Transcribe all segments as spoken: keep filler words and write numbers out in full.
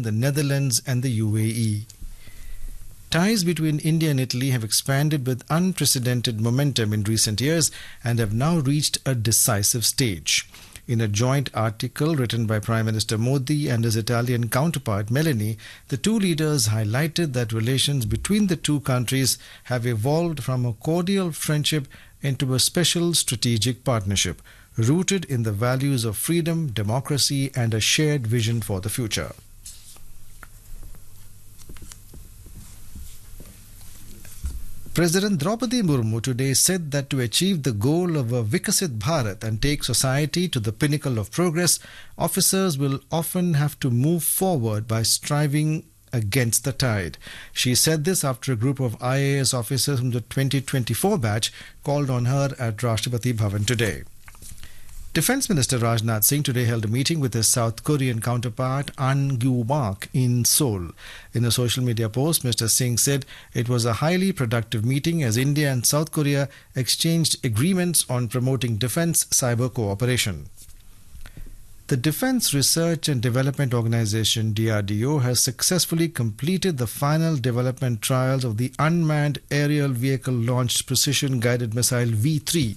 the Netherlands, and the U A E. Ties between India and Italy have expanded with unprecedented momentum in recent years and have now reached a decisive stage. In a joint article written by Prime Minister Modi and his Italian counterpart Meloni, the two leaders highlighted that relations between the two countries have evolved from a cordial friendship into a special strategic partnership, rooted in the values of freedom, democracy, and a shared vision for the future. President Draupadi Murmu today said that to achieve the goal of a Viksit Bharat and take society to the pinnacle of progress, officers will often have to move forward by striving against the tide. She said this after a group of I A S officers from the twenty twenty-four batch called on her at Rashtrapati Bhavan today. Defense Minister Rajnath Singh today held a meeting with his South Korean counterpart An Gyu-mak in Seoul. In a social media post, Mister Singh said it was a highly productive meeting as India and South Korea exchanged agreements on promoting defense cyber cooperation. The Defense Research and Development Organization, D R D O, has successfully completed the final development trials of the unmanned aerial vehicle launched precision guided missile V three,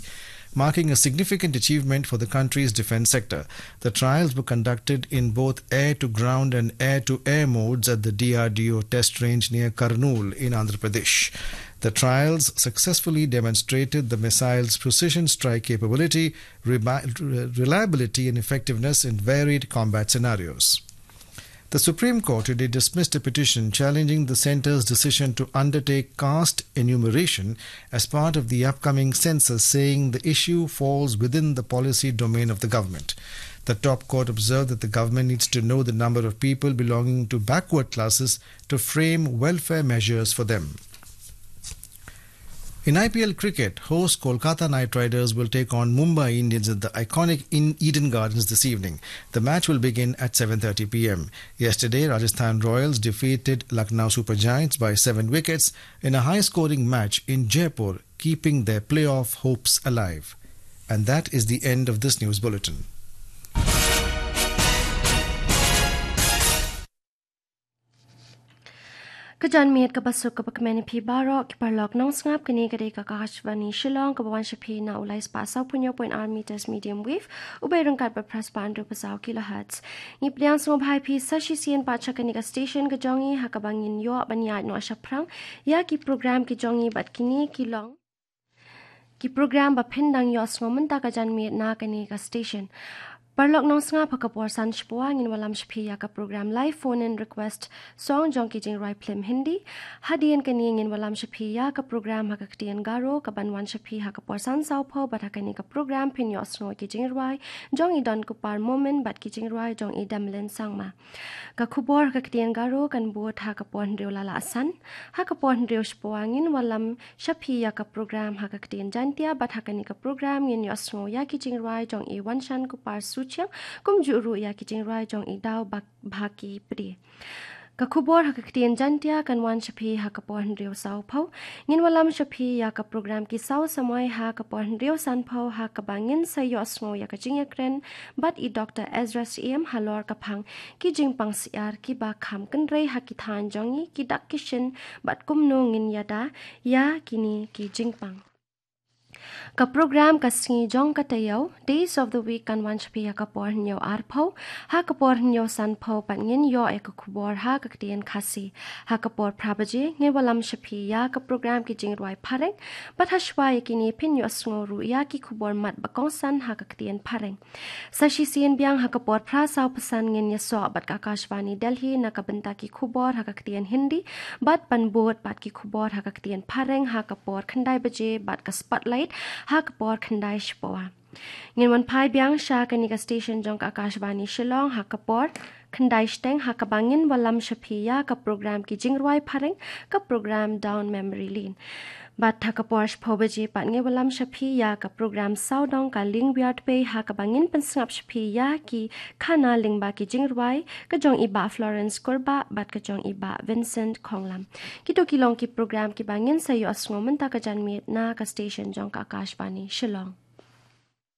marking a significant achievement for the country's defense sector. The trials were conducted in both air to ground and air to air modes at the D R D O test range near Kurnool in Andhra Pradesh. The trials successfully demonstrated the missile's precision strike capability, reba- reliability, and effectiveness in varied combat scenarios. The Supreme Court today dismissed a petition challenging the centre's decision to undertake caste enumeration as part of the upcoming census, saying the issue falls within the policy domain of the government. The top court observed that the government needs to know the number of people belonging to backward classes to frame welfare measures for them. In I P L cricket, host Kolkata Knight Riders will take on Mumbai Indians at the iconic in Eden Gardens this evening. The match will begin at seven thirty p m. Yesterday, Rajasthan Royals defeated Lucknow Super Giants by seven wickets in a high-scoring match in Jaipur, keeping their playoff hopes alive. And that is the end of this news bulletin. Ka janmiet kaba suk kaba kmen ïa phi baroh ki paralok nongsngap, kane ka dei ka Akashvani Shillong kaba wan sha phi na u lai spah saw phew hynñiew point ar meters medium wave, u bei ryngkat bad phra spah hynriew phew saw kilohertz. Ngi pdiang sngewbha ïa phi sa shisien pat sha kane ka station ka jong ngi ha kaba ngin ïoh ban ïaid noh shaphrang ïa ki program ki jong ngi bad kine ki long ki program ba phin dang ïohsngew mynta ka janmiet na kane ka station. Paralok nongsngap, ha ka por san shapoh ngin wallam sha phi ïa ka program live phone in request song jong ki jingrwai phlim Hindi. Hadien kane ngin wallam sha phi ïa ka program ha ka ktien Garo kaban wan sha phi ha ka por san saw phew, bad ha kane ka program phin ïohsngew ki jingrwai jong i Don Kupar Momin bad ki jingrwai jong i Demlin Sangma. Ka khubor ha ka ktien Garo kan bud ha ka por hynriew la la san. Ha ka por hynriew shapoh ngin wallam sha phi ïa ka program ha ka ktien Jaintia, bad ha kane ka program ngin ïohsngew ïa ki jingrwai jong i Wanshan Kupar Suchiang, kumjuh ruh ïa ki jingrwai jong i Daw Bak-, Bhaki Pde. Ka khubor ha ka ktien Jaintia kan wan sha phi ha ka por hynriew saw phew. Ngin wallam sha phi ïa ka program Ki Saw Samoi ha ka por hynriew san phew, ha kaba ngin sa ïohsngew ïa ka jingïakren bad i Doktor Ezra Syiem halor ka phang ki jingpang syiar kiba kham kynrei ha ki thaiñ jong ngi, ki dak ki shin bad kumno ngin ïada ïa kine ki jingpang. Ka program Ka Sngi Jong Ka Taïew, Days of the Week, kan wan sha phi ha ka por hynñiew ar phew. Ha ka por hynñiew san phew pat ngin ïoh ïa ka khubor ha ka ktien Khasi. Ha ka por phra baje ngin wallam sha phi ïa ka program Ki Jingrwai Phareng, bad ha shuwa ïa kine phin ïohsngew ruh ïa ki khubor mat ba kongsan ha ka ktien Phareng. Sa shisien biang ha ka por phra saw phew san ngin ïasoh bad ka Akashvani Delhi na ka bynta ki khubor ha ka ktien Hindi, bad ban bud bad ki khubor ha ka ktien Phareng ha ka por khyndai baje bad ka Spotlight ha ka por khyndai shapoh. Ngin wan phai biang sha kane ka station jong ka Akashvani Shillong ha ka por khyndai shiteng, ha kaba ngin wallam sha phi ïa ka program Ki Jingrwai Phareng, ka program Down Memory Lane. Bad ha ka por shiphew baje pat ngin wallam sha phi ïa ka program Sawdong Ka Lieng Wiar Dpei, ha kaba ngin pynsngap sha phi ïa ki khana lyngba ki jingrwai, ka jong i Bah Florence Kurbah bad ka jong i Bah Vincent Khonglam. Kito ki long ki program kiba ngin sa ïohsngew mynta ka janmiet na ka station jong ka Akashvani Shillong.